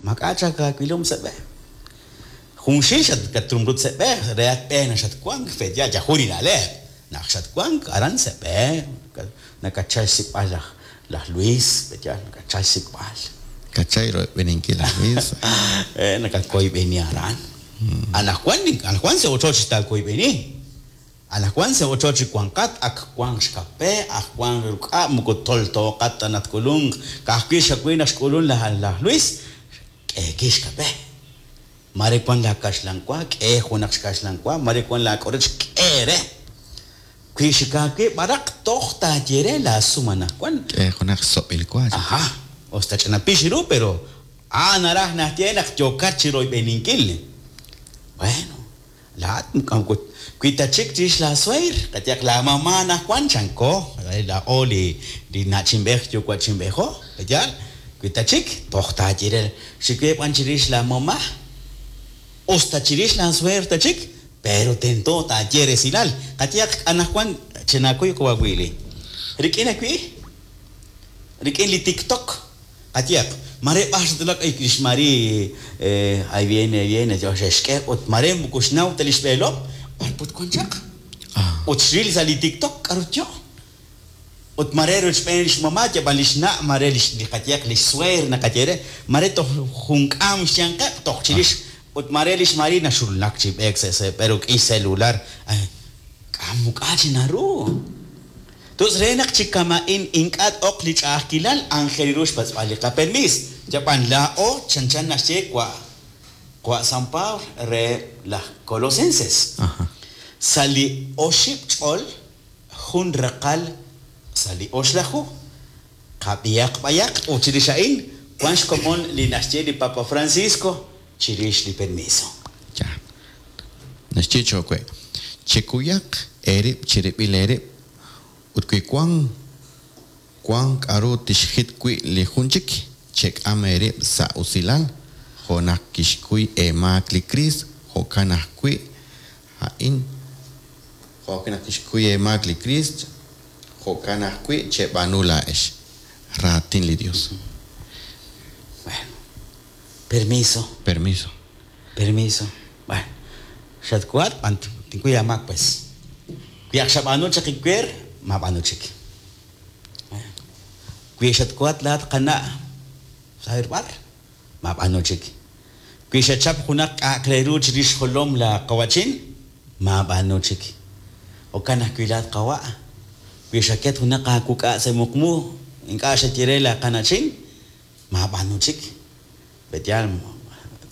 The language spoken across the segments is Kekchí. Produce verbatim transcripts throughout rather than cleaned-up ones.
Mak'a chak aawilom sa' b'e. Junxil xat katrumrut sa' b'e, re at b'e na xatwank, pe'yaal yajun li na'leb'. Naq xatwank aran sa' b'e, nakachal xsik'b'al laj laj Luis, pe'yaal nakachal xsik'b'al. Kachay royb'eninkil laj Luis. Eh, nakakoyb'eni aran. Anaqwan anaqwan sa' ochoch taakoyb'eni. Anaqwan sa' ochoch wanqat, ak wank xkape, ak wank ruk'a', moko toltooqat ta naq tk'ulunq. Ka'ajwi' xawi naq xk'ulun laj laj Luis, k'eeki xkape. Mare wan la kaxlan wa, k'e junaq xkaxlan wa, mare wan la k'orech, k'e re. Wi xikaawib' b'araq toj taaye re laasum anaqwan. K'e junaq xsob'il wa. Ajá, usta ch'ina pix ru, pero ah, naraj naxye naq yookat chi royb'eninkil. Bueno, laa'at moko wi ta chik chirix la sueer, qayehaq la mamá anaqwan chanko, laa'o li li na'chinb'ej yuwa'chinb'ejo, pe'yaal, wi ta chik toj taaye re xikwe b'an chirix la mamá, usta chirix la sueer ta chik, pero tento taaye resilal. Qayehaq anaqwan chinakuy qawawili. Rik'in ajwi' rik'in li TikTok, qayehaq mare b'ar xatulak ay lix Mari, eh, ahí viene, ahí viene, yo xe'xk'e ut mare moko xnaw ta li xb'eelom, b'ar put wan chaq. Ah. Ut xril sa' li TikTok k'aru yo. Ut mare rochb'een lix mamá, yab'an lix na', mare lix li qayehaq lix sueer naqaye re, mare toj jun k'aam xyanqeb' toj chirix, ut mare lix Mari naxulnak chi b'eek sa' sa' b'e rik'in celular. Ay, k'am muk'a chi naru. Tus re naq chi kama'in ink'a' t-oq li ch'a'ajkilal aajel ru xpatz'b'al li qapermiis. Yab'an laa'o chanchan naxye wa' wa' San Pablo re laj Colosenses. Ajá. Sa' li oxib' ch'ol jun raqal sa' li oxlaju. Qab'ihaq b'ayaq ut chirix a'in wan xkomon li naxye li Papa Francisco chirix li permiso. Ya. Naxye chowe. Chekuyaq eerib' chirib'il eerib' ut wi wan wan k'aru tixjit wi' li jun chik, chek'am eerib' sa' usilal, jo' naq kixkuy eemaak li Kriist, jo'kan ajwi' a'in, jo' ajwi' naq kixkuy eemaak li Kriist, jo'kan ajwi' cheb'aanu laa'ex. Raatin li Dios. Bueno, permiso, Permiso. Permiso. Bueno, xatkuat b'an tinkuy amaak pues. Wi ak xab'aanu chaq iwer, mab'aanu chik. Wi xatkuat laat qana' saber b'ar, mab'aanu chik. Wi xachap junaq k'a'aq re ru chirix xjolom la qawachin, mab'aanu chik. Jo'kan ajwi' laat qawa'. Wi xaket junaq aawuk'a' sa' muqmu, ink'a' xaye re la qana'chin, mab'aanu chik. Pe'yaal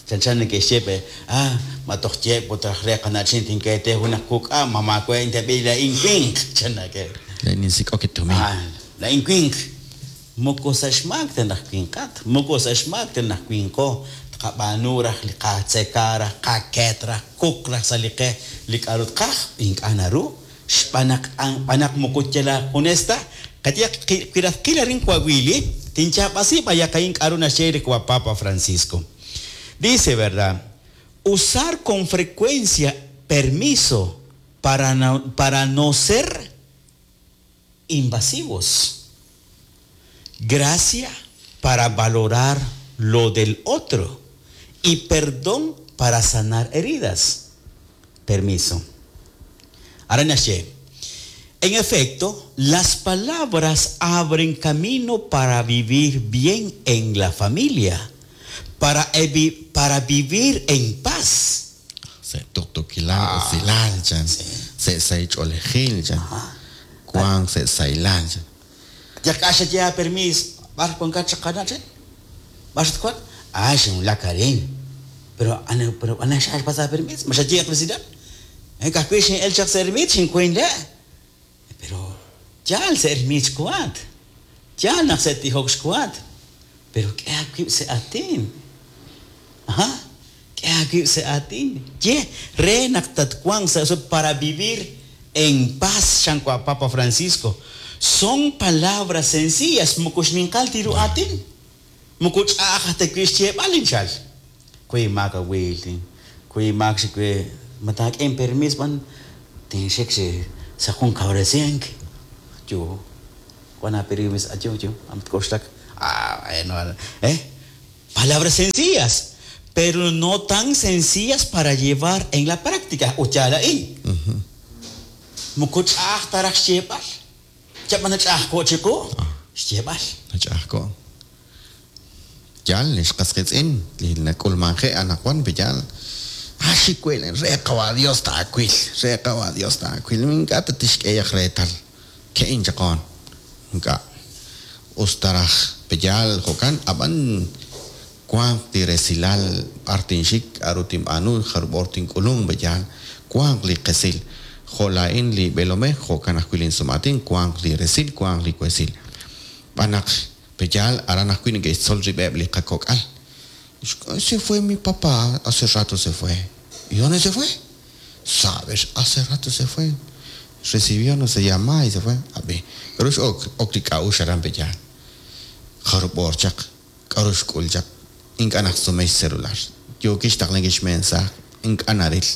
chanchan neke'xye pe, ah, ma toj yeeb' ut raj re qana'chin tinkete junaq wuk'a, ma maawe' intab'i laa'in winq, chan nake'. Laa'in ninsik'ok tumin. Ah, laa'in winq. Moko sa' xmaak ta naq winqat, moko sa' xmaak ta naq winqo, tqab'aanu raj li qatzeka raj, qaket raj, kuk raj sa' li qe li k'aru tqaj, ink'a' naru, xb'aan naq b'aan naq moko yal junes ta, qayehaq wi raj qil arin wawili, tinyaab'asi b'ayaq a'in k'aru naxye li wa Papa Francisco. Dice, ¿verdad? Usar con frecuencia permiso para no, para no ser invasivos. Gracia para valorar lo del otro y perdón para sanar heridas. Permiso. Ahora naxye. En efecto, las palabras abren camino para vivir bien en la familia, para, evi- para vivir en paz. Sa' tuqtuukilal, usilal, chan. Sa' sahil ch'oolejil, chan. Wank sa' sahilal, chan. Ya k'axa ya permis, b'ar wankat chaqana che? B'ar xatkuat? Ah, xinwulak arin. Pero ana pero ana xax pasa permis, ma xayeq president. Eh, kajwi' xin'el chaq sa' ermit xinkuin le'. Pero yaal sa' ermit xkuat. Yaal naq sa' tijok xkuat. Pero k'e aawib' sa' aatin. Ajá. K'e aawib' sa' aatin. Ye, re naq tatwanq sa' eso para vivir en paz, xankwa Papa Francisco. Son palabras sencillas, moko xninqal tiru aatin. Moko ch'a'aj ta wi' xyeeb'al inchal. Kuy maak awil, kuy maak xikwe mataak'en permis b'an tinxik xi sa' jun kawresink. Yo, wan apermis ayo yo, am tk'oxlak. Ah, bueno, eh. Palabras sencillas, pero no tan sencillas para llevar en la práctica. Ut yaal a'in. Moko ch'a'aj ta raj xyeeb'al. Chab'an ch'a'ajko' chiqu xyeeb'al. Nach'a'ajko'. Yaal, li xqas qiitz'in, li nak'ulmanje' anaqwan pe yaal. Ah, xikwil, re qawa Dios taawil, re qawa Dios taawil. Ink'a' tatixk'eyaq reetal. Ke'in chaqoon. Ink'a'. Us ta raj peyaal jo'kan, ab'an wanq li resilal b'ar tinxik, k'a'ru tinb'aanu, jarub' hor tink'ulunk peyaal. Wanq li qesil. Jo' laa'in li b'eelomej, jo'kan ajwi' linsum'aatin, wanq li resil, wanq li wesil. B'an naq peyaal aran ajwi' neke'xtzol rib'eb' li qakok'al. Se fue mi papá, hace rato se fue. ¿Y dónde se fue? Sabes, hace rato se fue. Recibió no se llama y se fue. Ab'i, k'aru x'ok ok li k'a'uxl aran peyaal. Jarub' hor chaq, k'aru xk'ul chaq. Ink'a' naqsume xcelular. Yookin xtaqlankil xmensaaj, ink'a' naril.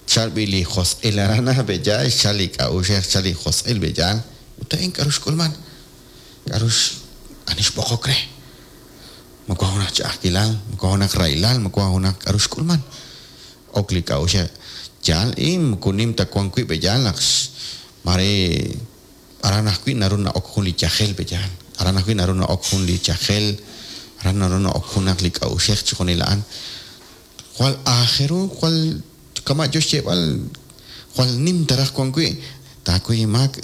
Xchal b'i li josq'il aran peyaal, xchal li k'a'uxej, xchal li josq'il peyaal. Ut a'in k'aru xk'ulman? K'aru ani xb'oqok re? Ma wan junaq ch'a'ajkilal, ma wan junaq rahilal, ma wan junaq k'aru xk'ulman? Ok li k'a'uxej. Yaal in moko nim ta wan wi' peyaal naq mare aran ajwi' naru na'ok jun li yajel peyaal. Aran ajwi' naru na'ok jun li yajel, aran naru na'ok junaq li k'a'uxej chi junil a'an. Jwal aajel ru, jwal kama' yo xyeeb'al, jwal nim ta raj wan wi', taakuy inmaak,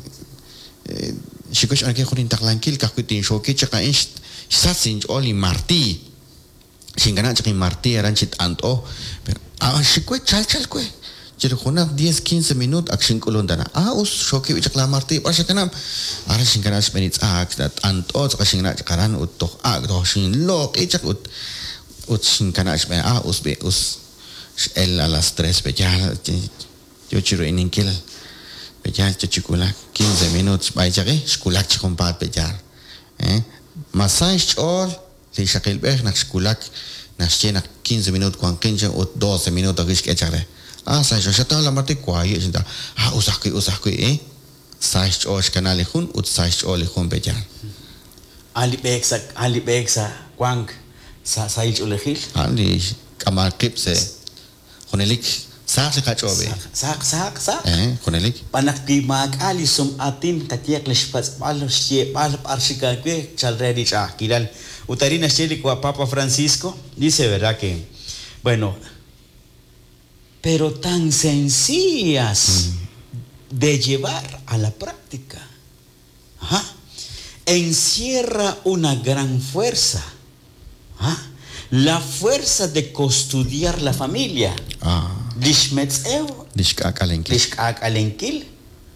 xikuy xb'aankil jun intaqlankil ka'ajwi' tinxooki chaq a'in xsach inch'ool li martiiy. Xinkanab' chaq inmartiiy aran chi t'ant'o. Pero ah, xikwe chal chal we. Chiru junaq diez, quince minutos ak xink'ulun tana. Ah, us xooki chaq la martiiy b'ar xakanab'. Aran xinkanab' xb'een tz'aak, t'ant'o tz'aqal xinkanab' chaq aran ut toj ak' toj xinloq'i chaq ut ut xinkanab' xb'een ah, us b'i us x'el a las tres peyaal yo chiru ininkil peyaal yo chi wulak quince minutos xb'ay chaqi xwulak chi junpaat peyaal. Eh? Masay xch'ool li xaqilb'ej naq xwulak naxye naq quince minutos wanqin chaq ut doce minutos ajwi' xk'e chaq re. Ah, sa xch'ool xataw la martiiy waaye' xintaw. Ah, us ajwi' us ajwi' eh. Sa xch'ool xkana li jun ut sa xch'ool li jun peyaal. A'an li b'eek sa' a'an li b'eek sa' wank sa' sahil ch'oolejil. A'an li k'amal qib' se junelik saq li qach'ool be. Saq, saq, saq. Eh, junelik. B'an naq wi maak'a' li sum'aatin qayehaq li xpatz'b'al xyeeb'al b'ar xik aawe chal re li ch'a'ajkilal. Ut arin naxye li Papa Francisco, dice, ¿verdad? Que, bueno, pero tan sencillas de llevar a la práctica. Ajá. Encierra una gran fuerza. Ajá. La fuerza de custodiar la familia. Ah, Li xmetz'ew, li xk'ak'alenkil. li xk'ak'alenkil,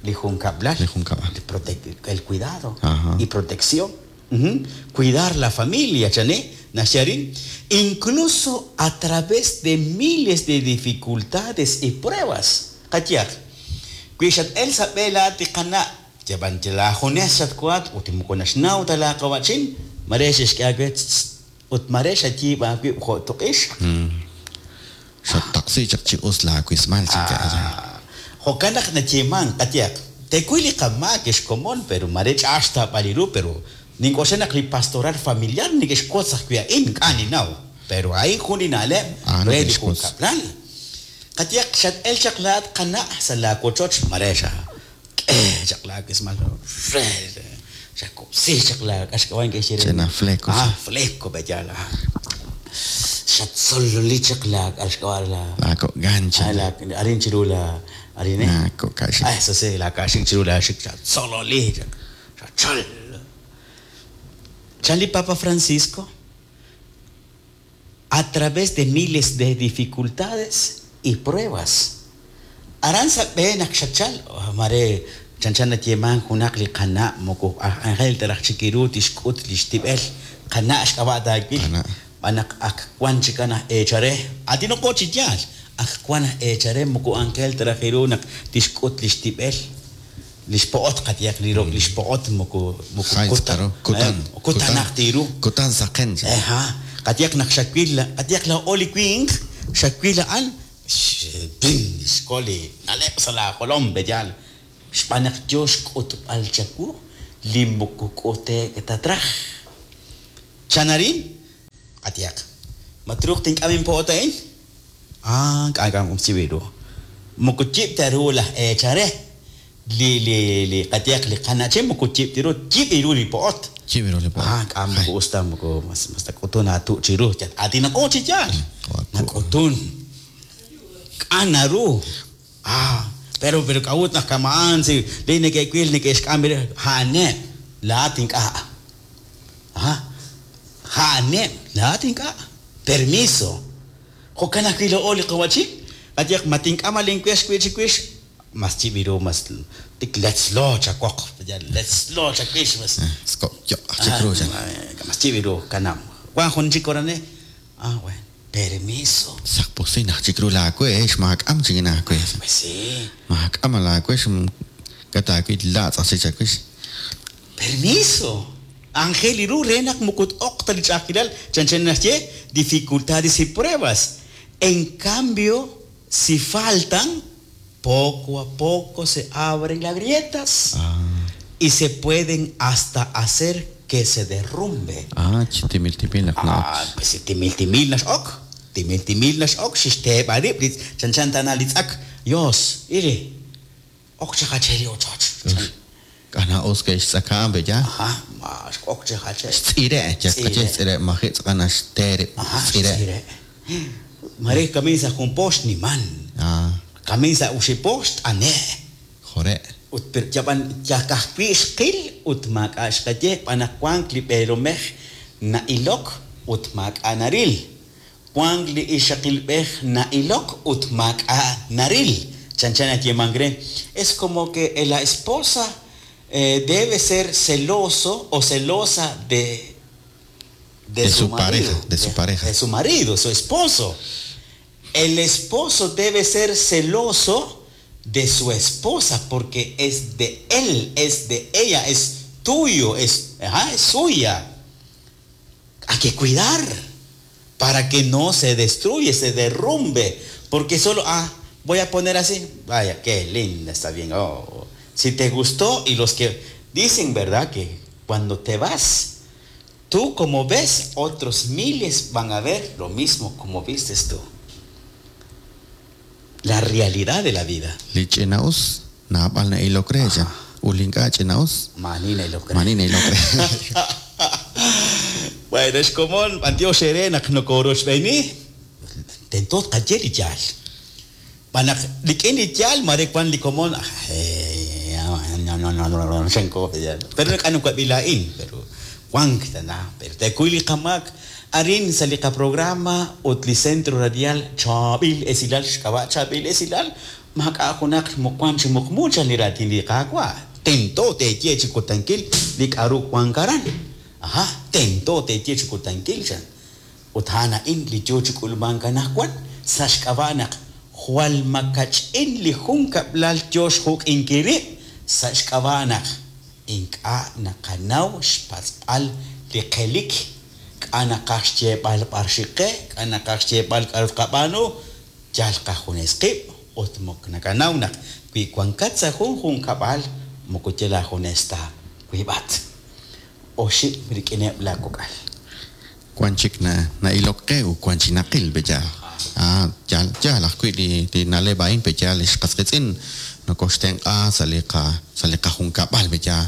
li junkab'lal. Li junkab'al. El, prote- el cuidado Ajá. y protección. Ujú. Cuidar la familia, chané, naxarin. Incluso a través de miles de dificultades y pruebas. Qayaq. Wi xat-el sa' b'e laat li qana' yab'an lajunes xatkuat ut moko naxnaw ta laaqawachin mare xexk'e aawe tz- ut mare xayiib' aawib' jo' tuq'ix. Xattaqsi chaq chi us laawismal chinka'aya. Ah, jo'kan naq nayeeman qayaq tekuy li qamaak xkomon pero mare ch'a'aj xtaab'al ru pero nink'oxla naq li pastoral familiar neke'xwotz ajwi' a'in ink'a' ninaw pero a'in jun li na'leb' Ah, re li neke'xwotz. junkab'lal qayaq xat-el chaq laat qana' sa' laawochoch mare xa k'e chaq laawismal re xakub'si chaq la k'axk'awan ke'xye re Ch'ina fleco. ah fleco b'eyal ah xatzololi chaq la k'axk'awan la Laako'gancha. Ah, la arin chiru la arin eh Laako'kaxik. Ah, eso sí, la kaxik chiru la xik xatzololi xachol. Charlie Papa Francisco, a través de miles de dificultades y pruebas. Aran sa b'e naq xachal, oh, mare chanchan nayeeman junaq li qana' moko aj Angel taraj chikiru tixk'ut li xtib'el qana' xk'ab'a' taawil. Qana'. B'an naq ak wan chikan aj eechare atinoqo chi yaal ak wan aj eechare moko Angel taraj iru naq tixk'ut li xtib'el li xpo'ot qayehaq li ro li xpo'ot moko moko Jay kutan tz'aqaro. Kutan. eh, kutanaq tiru. Kutan saqen. Eja, qayehaq naq xawil qayehaq la oli winq xawil a'an x- pin, xkoli na'leb' sa' laajolom b'eyal xb'aan naq yo xk'utb'al chawu li moko k'ute'k ta traj. Chanarin, qatihaq. Ma truuq tink'am inpo'ot a'in? Ah, k'ak'am chiwiru. Moko yib' ta ru laj eechal re. Li li li qatihaq li qana'chin moko yib' ta ru, yib' ru li po'ot. Yib' ru li po'ot. Ah, k'am moko us ta moko mas mas tak'utun aatu' chiru. Aatinaqo chi yaal. Nak'utun. K'an naru. Ah, pero pero k'a'ut naq kama'an si li neke'wil neke'xk'am ha'aneb' laa'at ink'a'. Ah, ha'aneb' laa'at ink'a'. Permiso. Jo'kan ajwi' lo'o li qawachik. Qatihaq ma tink'am alinwex wi' chiwix mas chibiru mas tik letzlo chawoq. Letzlo chawix mas. Skok yo chikru chan. Mas chibiru kanam. Wan jun chik orane. Ah, bueno. Permiso. Saqpusin aj chikru laawe xmaak'am chik naawe. Pues sí. Maak'am laawe k'ataawi laatz' aj chik chawix. Permiso. Ángel iru re naq mukut oq ta li ch'a'ajkilal chan chan naxye dificultades y pruebas. En cambio, si faltan, poco a poco se abren las grietas Ah. y se pueden hasta hacer que se derrumbe. Ah, chi timil timil naq Ah, pues si timil timil naxok, timil timil naxok, xixteeb' arib' li chan chan tana li tz'ak. Dios, iri. Ok chajache li ochoch. K'ana us ke xtz'aka'an be ya. Ajá, ma ok chajache. Xtz'ire, ya Tz'ire. xtz'ire, maji tz'aqan xtere, Ajá, xtz'ire. xtz'ire. Mare kamisa jun pox ni man. Ah, Kamisa uxipox ane. jore. Ut per yaban yakajwi xqil ut maak'a xqaye b'anaq wank li b'eelomej na'ilok ut maak'a naril. Wank li ixaqilb'ej na'ilok ut maak'a naril. Chan chan ayemangre. Es como que la esposa eh, debe ser celoso o celosa de De su marido, pareja, de su pareja. De su marido, su esposo. El esposo debe ser celoso de su esposa porque es de él, es de ella, es tuyo, es, ajá, es suya. Hay que cuidar para que no se destruya, se derrumbe. Porque solo, ah, voy a poner así, vaya, qué linda, está bien. Oh, si te gustó y los que dicen, ¿verdad? Que cuando te vas, tú como ves, otros miles van a ver lo mismo como vistes tú. La realidad de la vida. Li ch'ina'us naab'al na'ilok re chan. Ulink'a ch'ina'us Manina y lo cree. mani na'ilok re. Bueno, es como Antio Xere naq nokorochb'eni tento tqaye li yaal. B'anaq rik'in li yaal mare wan li komon eh, no no no no no xanko pero k'anu kwab'ila'in pero wank tana pero tekuy li qamak arin sa li qaprograma ut li centro radial chaab'il esilal xk'ab'a' chaab'il esilal maak'a' junaq muqwan chi muqmucha li raatin li qaawa' tento teeye chi kutankil li k'aru wank aran. Ajá, tento teeye chi kutankil chan. Ut ha'an a'in li yoo chi k'ulmank anaqwan sa' xk'ab'a' naq jwal makach'in li jun kab'lal yoo xjuk'inkil rib' sa' xk'ab'a' naq ink'a' naqanaw xpatz'b'al li qelik k'a' naqaj xyeeb'al b'ar xiqe k'a' naqaj xyeeb'al k'aru tqab'aanu yal qajunes qib' ut mok nakanaw naq wi wankat sa' jun junkab'al moko yal aajunes ta wiib'at oxib' rik'ineb' laakok'al. Wan chik na na'ilok qe u wan chik naqil be yaal. Ah, yaal yaal ajwi' li li na'leb' a'in be yaal xqasqitz'in nokoxtenq'a sa' li qa sa' li qajunkab'al be yaal.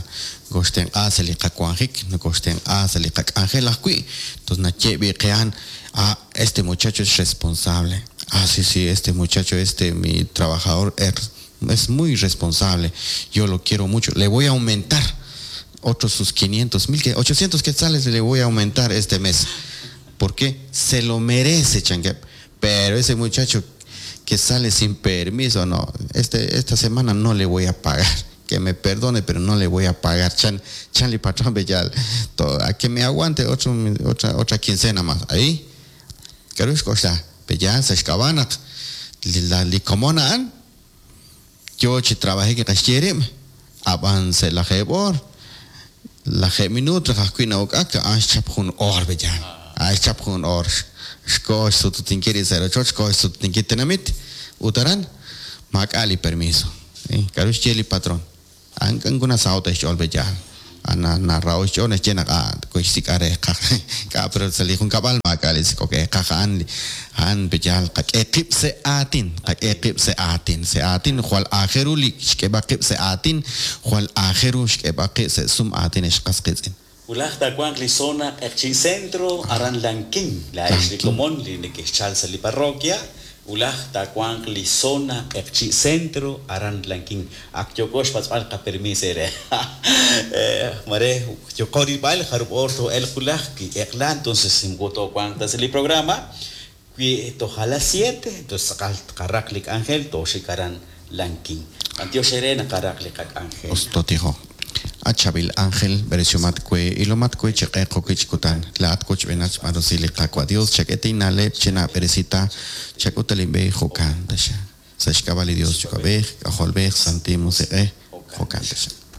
Nokoxtenq'a sa' li qawanjik, nokoxtenq'a sa' li qak'anjel ajwi'. Entonces naye'b'i qe'an, ah, este muchacho es responsable. Ah, sí, sí, este muchacho, este mi trabajador es, es muy responsable. Yo lo quiero mucho. Le voy a aumentar otros sus quinientos mil, que ochocientos quetzales le voy a aumentar este mes. Porque se lo merece, changue. Pero ese muchacho que sale sin permiso, no, este, esta semana no le voy a pagar. Que me perdone, pero no le voy a pagar. Chan, chanli patrón bellal. Todo, a que me aguante otro, otra, otra quincena más. Ahí. Karush koxla. Bellal, se xkabanak. La licomona an. Yo chi trabajé que kashierim. Avance la jebor. La je minuto jaskuina okaka. Ah, chap jun or bellal. Ah, chap jun or. Xkox sututinkiri cero ocho, xkox sututinkiri tenamit. Utaran. Makali permiso. Eh, Karush cheli patrón. Anguna sauta xol bellal. Ana narao xch'ool naxye naq ah koxsik'a reeqaj. K'a pero sa' li junkab'al maak'a' li sik'ok eeqaj a'an a'an peyal qak'e qib' sa' aatin, qak'e qib' sa' aatin, sa' aatin jwal aajel ru li xk'eeb'al qib' sa' aatin, jwal aajel ru xk'eeb'al qib' sa' sum aatin ex qas qiitz'in. Wulaj taawanq li zona Q'eqchi' Centro aran Lanquín, laa'ex li komon li neke'xchal sa' li parroquia. Wulaj taawanq li zona Q'eqchi' Centro aran Lanquín. Ak yooko xpatz'b'al qapermis eere. Mare yooko rilb'al jarub' oor too'elq wulaj wi eq'la, entonces moko toowanq ta sa' li programa. Wi toj a las siete, entonces tz'aqal tqaraq li k'anjel tooxik aran Lanquín. B'antiox eere naqaraq li qak'anjel. Us totijo. At chaab'il ángel, b'eresiomat we, ilomat we chi q'eq jo'wi' chi kutan. Laa'at wochb'eenat xb'aan rusil li Qaawa' Dios, chak'e inna'leb' chinaab'eresita, chak'ut linb'e jo'kan taxa. Sa' xk'ab'a' li Dios Yuwa'b'ej, K'ajolb'ej, Santil Musiq'ej, jo'kan taxa.